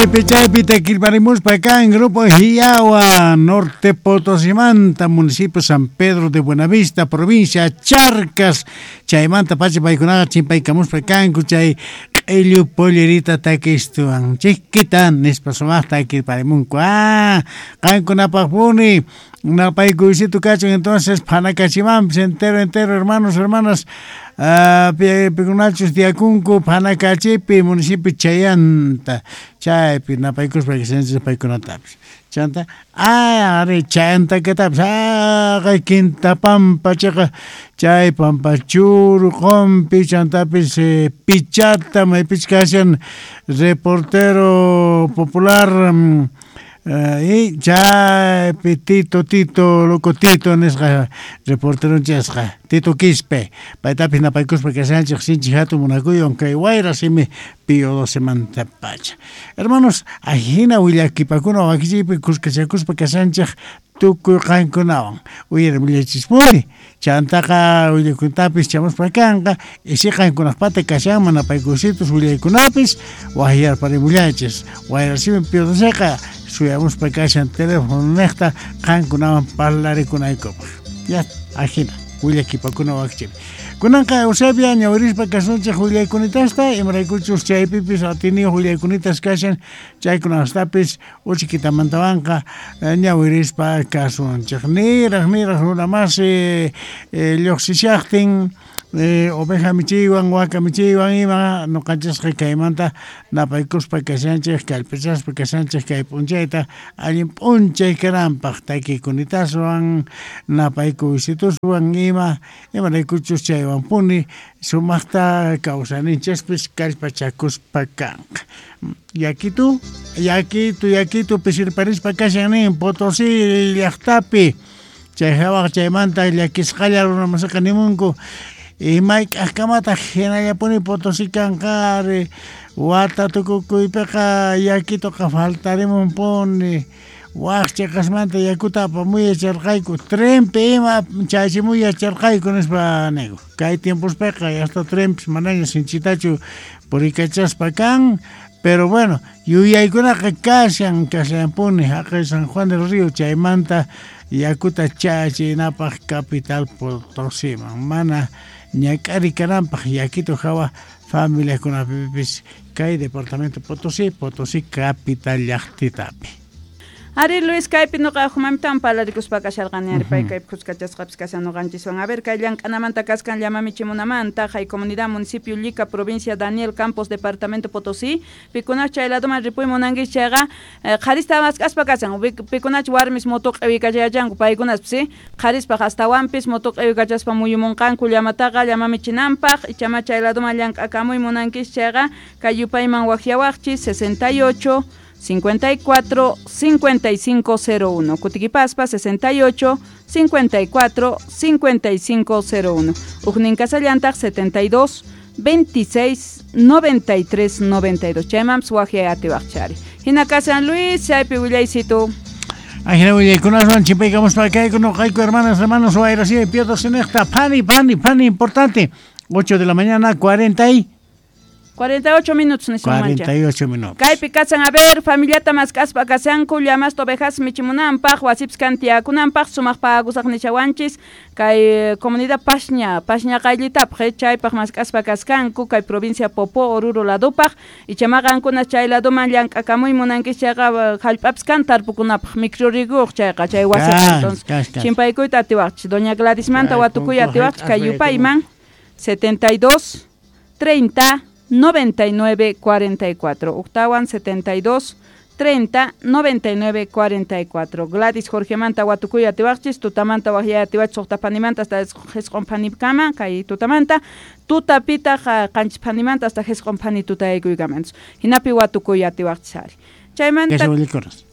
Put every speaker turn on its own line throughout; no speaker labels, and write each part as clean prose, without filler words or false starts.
Chaypi chaypi takirparimuspa kan Grupo Hiawa, Norte Potosimanta, municipio San Pedro de Buenavista, provincia Charcas. Chaymanta pacha paykunaqa chimpaykamuspa kanku chay q'illu pollerita takistuwan chiquita nispa sumaqta takirparimunku. Ah, qankunapaqpuni napaykuysito kachun entonces phanakachimanpis entero entero hermanos hermanas pikunachus tiyakunku phanakachipi municipio Chayanta chaypi napaykuspa kashanchis paykunatapis chanta ari chayantakatapis haqay Quintapampa chayqa chay Pampachuru Qompi chantapis Pichata maypich kashan reportero popular y chaypi Tito Tito loco Tito nisqa reporteronchasqa Tito Quispe paytapis napaykuspa kashanchik sinchi hatun munakuywan kay wayra simi Pío XII pacha. Hermanos, ajina willakipakuna wakichiypi kuskachakuspa kashanchik tukuy qankunawan uyarimullachispuni chantaqa willakuntapis chamuspa kanqa isi qankunaqpata kashanman napaykusitus willaykunapis waqyarparimullanchis wayra simi Pío XIIqa suyamuspa kashan teléfono niqta qankunawan parlarikunaykupaq. Ya, ajina willakipakuna wakichiypi. Kunanqa Eusebia ñawirispa kasunchik willaykunitasta imaraykuchus chaypipis atiniyuq willayunitas kashan chaykunastapis uchikitamantawanqa ñawirispa kasunchik. Niraq niraq runa masi lluqsishaqtin oveja michiywan waka michiywan ima ñuqanchisqa kaymanta napaykuspa kashanchik kallpachaspa kashanchik kay p'unchayta allin p'unchay kananpaq takikunitaswan napaykuysituswan ima imaraykuchus chaywanpuni sumaqta kawsayninchispis kallpachakuspa kanqa. Yakitu yakitu yakitu pisirparispa kashan nin Potosí llaqtapi chay hawaq chaymanta llakisqalla runa masiqa nimunku imayk'aqkamataq hinallapuni Potosí kanqa ari wata tukukuypiqa yakituqa faltarimunpuni waq chiqasmanta yakuta apamuy yacharqayku trenpi ima chachimuy yacharqayku nispa niku kay tiempospiqa hasta trenpis manaña sinchitachu purikachaspa kan pero bueno yuyaykunaqa kashan kashanpuni haqay San Juan del Río chaymanta yakuta chachinapaq capital Potosíman mana ñak'ari kananpaq yakitu hawa familiakunapipis kay departamento Potosí, Potosí capital llaqtitapi.
Ari Luis kaypi nuqa mamitawan parlarikuspa kasharqani ari pay kaypi kuskachasqapis kashan ñuqanchiswan. A ver, kay llank'anamanta kaskan llama michimunamanta hay comunidad municipio Llica provincia Daniel Campos departamento Potosí pikunach chay ladoman ripuy munankichis chayqa qharista mask'aspa kashan pikunach warmis moto q'iwikachayachanku paykunaspis si qharispaq astawanpis moto q'iwikachaspa muyumunqanku llamataqa llama michinanpaq ichama chay ladoman llank'akamuy munankichis chayqa kay yupayman waqyawaqchis 68 54 55 01 Kutikipaspa 68 54 55 01 Ujnin kasallantaq 72 26 93 92 Chaymanpis waqyay atiwaqchari. Hina kasan Luis chaypi willaysitu.
Ajina willaykunaswan chimpaykamuspa kayku nuqayku hermanas hermanos wayrasimi Pío XII pani pani pani importante 8 de la mañana
48 minutos nisunmancha.
48 minutos.
Kaypi kasan a ver familiata mask'aspa kasanku llamasta ovejas michimunanpaq wasipis kantiyakunanpaq sumaq pagusaq nishawanchis kay comunidad Pasña Pasña qayllitapaq chaypaq mask'aspa kaskanku kay provincia Popó Oruro ladupaq ichama qankuna chay laduman llank'akamuy munankichis chayqa hallp'apis kan tarpukunapaq microrriguq chayqa chay wasiqa entonces chimpaykuyta atiwaqchis doña Gladysmanta watukuy atiwaqchis kay yupayman 72 30 99 44 Octawan 72 30 99 44 Gladys Jorgemanta watukuy atiwaqchis tutamanta waqyay atiwachis suqta panimanta hasta jisq'un panikama kay tutamanta tutapitaq qanchis panimanta hasta jisq'un pani tutaykuykama hinapi watukuy atiwaqchis ari chaymanta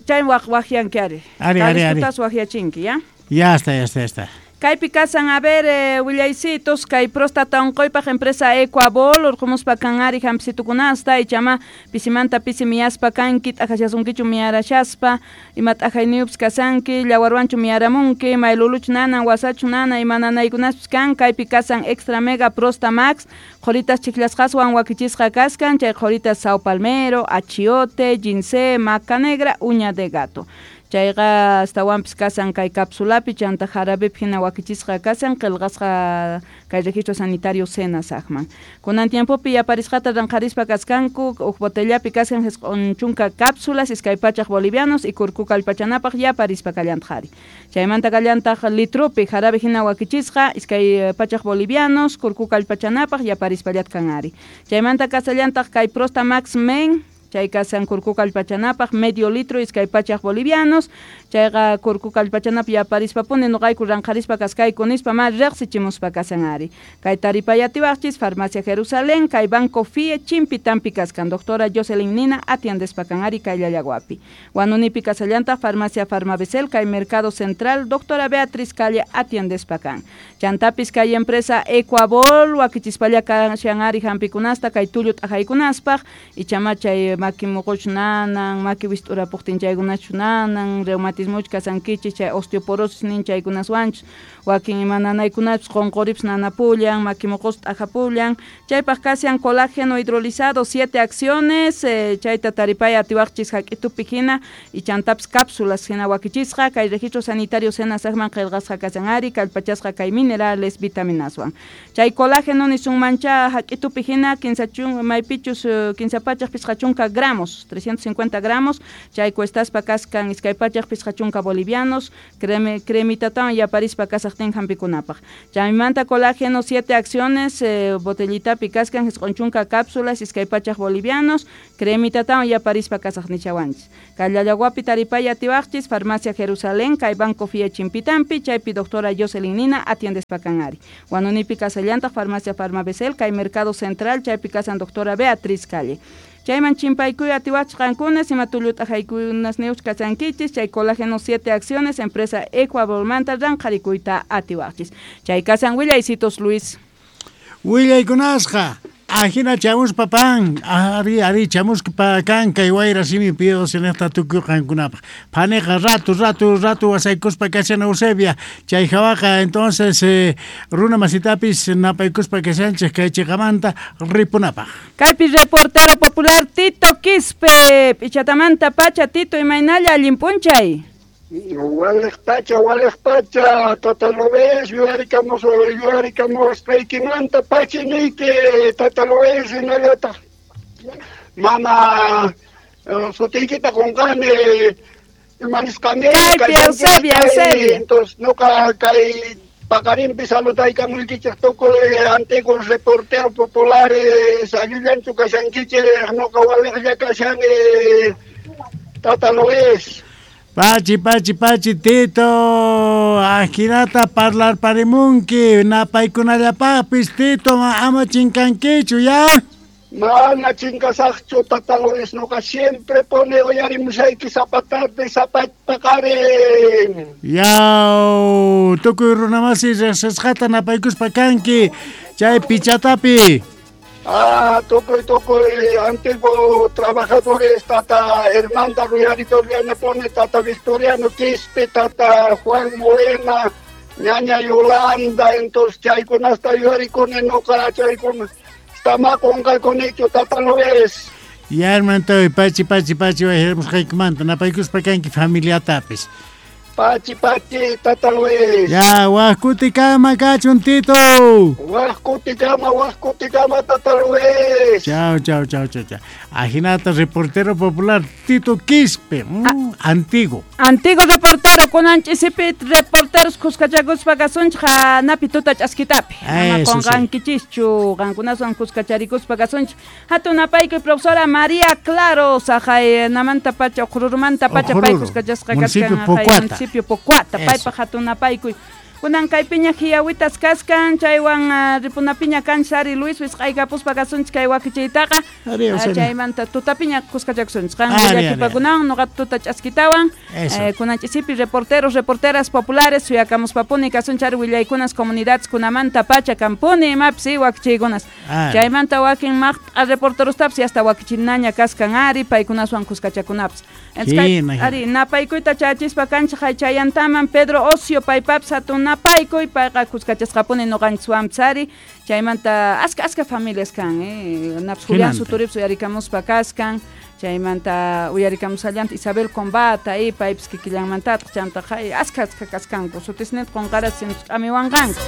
chay waqyanki ari
ari ari
tutas waqyachinki ya
ya está ya está ya está.
Kaypi kasan, a ver, willaysitos, kay próstata unquypaq empresa Ecuabol, urqumuspa kan ari hampsitukunasta, ichama pisimanta pisi miyaspa kanki, t'aqashasunkichu miyarashaspa, ima t'aqayniyupis kasanki, llawarwanchu miyaramunki, mayluluchu nanan, wasachu nana, ima nanaykunaspis kan, kaypi kasan Extra Mega Prosta Max, qhuritas chiklasqaswan wakichisqa kaskan, chay qhuritas sao palmero, achiote, ginseng, maca negra, uña de gato. Chayqa astawanpis kasan kay cápsulapi chanta jarabepi hina wakichisqa kasan qillqasqa kay registro sanitario SENASACman. Kunan tiempopi yaparisqata ranqharispa kaskanku huk botellapi kaskan 90 cápsulas 200 bolivianos y kurku kallpachanapaq yaparispa kallantaq ari. Chaymanta kallantaq litropi jarabe hina wakichisqa 200 bolivianos kurku kallpachanapaq yaparispallat kan ari. Chaymanta kasallantaq kay Prosta Max Men chay kasan kurku kallpachanapaq medio litro 200 bolivianos chayqa kurku kallpachanapaq yaparispapuni nuqayku ranqharispa kaskayku nispa ma riqsichimuspa kasan ari. Kay taripayatiwaqchis Farmacia Jerusalén kay Banco FIE Chimpitampi kaskan doctora Jocelyn Nina atiendespa kan ari kay Llallaguapi. Huanunipi kasallantaq Farmacia Farmabesel kay Mercado Central doctora Beatriz Calle atiendespa kan. Chantapis kay empresa Ecuabol wakichispalla kashan ari hampikunasta kay tullu t'aqaykunaspaq ichama chay maki muquchu nanan, maki wist'urapuqtin chaykunachu nanan, reumatismuchu kasankichis, chay osteoporosis nin chaykunaswanchus, wakin ima nanaykunachus qunquripis nanapullan, maki muqus t'aqapullan, chaypaq kashan colágeno hidrolizado 7 acciones, chayta taripay atiwaqchis hak'itupi hina y chantapis cápsulas hina wakichisqa, kay registro sanitario SENASACman qillqasqa kasan ari, kallpachasqa kay minerales vitaminaswan. Chay colágeno nisunmancha hak'itupi hina maypichus 350 gramos, 350 gramos, chay cuestaspa kaskan 250 bolivianos, cremitatawan yaparispa kasaqtin hampikunapaq. Chaymanta colágeno 7 acciones, botellitapi kaskan 90 cápsulas, 200 bolivianos, cremitatawan yaparispa kasaq nichawanchis. Kay Llallaguapi taripay atiwaqchis, Farmacia Jerusalén, kay Banco FIE Chimpitampi, chaypi doctora Jocelyn Nina atiendespa kan ari. Huanunipi kasallantaq Farmacia Farmabesel, kay Mercado Central, chaypi kasan doctora Beatriz Calle. Chayman chimpaykuy atiwachis qankunas ima tullu t'aqaykunas niwch kasankichis, chay colágeno 7 acciones, empresa Ecuabolmanta ranqharikuyta atiwachis. Chay kasan willaysitos Luis.
Willaykunasqa ajina chamuspa pan, ari chamuspa kan kay wayra simi pido sinesta tukuy qankunapaq. Paniqa rato wasaykuspa kashan Eusebia, chay hawaqa entonces runa masitapis napaykuspa kashanchik kay chiqamanta ripunapaq.
Kaypi reportero popular Tito Quispe, Pichatamanta pacha Tito imaynalla allin p'unchay.
Waliq pacha, Tata Luis, yuyarikamos paykimanta pachi niyki, Tata Luis, hinallataq mama sutiykita qunqani imanisqani.
Kaypi Eusebia.
Entonces nuqa kay paqarinpi saludaykamuykichik tukuy antiguos reporteros populares, allillanchu kashankichik, nuqa waliqlla kashani, Tata Luis.
Pachi, Tito, ajinata parlar parimunki, napaykunallapaqpis, Tito, ama chinkankichu, ya?
Mana chinkasaqchu, Tata Luis, nuqa siempre pone uyarimusayki sapa tarde, sapa paqarin.
Yaw, tukuy runamasi riqsisqata napaykuspa kanki, chay pichatapi.
Ah, tukuy antiguo trabajadores, Tata Hernanda Ruyarito pone, Tata Victoriano Quispe, Tata Juan Morena, Ñaña Yolanda, entonces chaykunasta yuyarikuni nuqa chaykuna tama qunqaykunichu, Tata Luis.
Ya, hermano, pachi, wayaramusqaykimanta napaykuspa kanki familiatapis.
Pachi, Tata Luis.
Ya, waqkutikama kachun, Tito.
Waqkutikama, Tata Luis.
Chao. Ajinata, reportero popular Tito Quispe, antiguo.
Antiguo reportero, kunan ch'isipi reporteros kuskachakuspa kasunchik hanapi tuta ch'askitapi. Ama qunqankichischu, qankunaswan kuskacharikuspa kasunchik. Hatun napaykuy profesora María Claro, saqay namanta pacha, uqrurumanta pacha pay kuskachasqa kachkan. Municipio Pocuata, paypaq hatun napaykuy. Kunan kaypiña hiyawitas kaskan chaywan ripunapiña kanchis ari Luis wisq'aykapuspa kasunchik kay wakichiytaqa. Chaymanta tutapiña kuskachakusunchik. Qan llakipakunawan nuqa tuta ch'askitawan. Kunan ch'isipi reporteros, reporteras populares suyakamuspapuni kasunchik ari willaykunas comunidades kunamanta pacha kampuni imapis wakichiykunas. Chaymanta wakin maqt'a reporterostapis hasta wakichinaña kaskan ari paykunaswan kuskachakunapis. Ari napaykuyta chachispa kanchik chayantaman Pedro Ocio paypapis hatun napaykuy payqa kuskachasqapuni nuqanchikwanpis ari chaymanta aska aska familias kan napis Julián Suturipis uyarikamuspa kaskan chaymanta uyarikamusallanta Isabel Combata paypis kikillanmantataq chantaqa aska aska kaskanku sutisninta qunqaras k'amiwanqanku.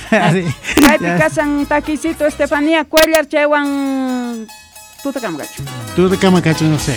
Kaypi kasan takisito Estefanía Cuellar chaywan tutakama kachu.
Tutakama kachu no sé.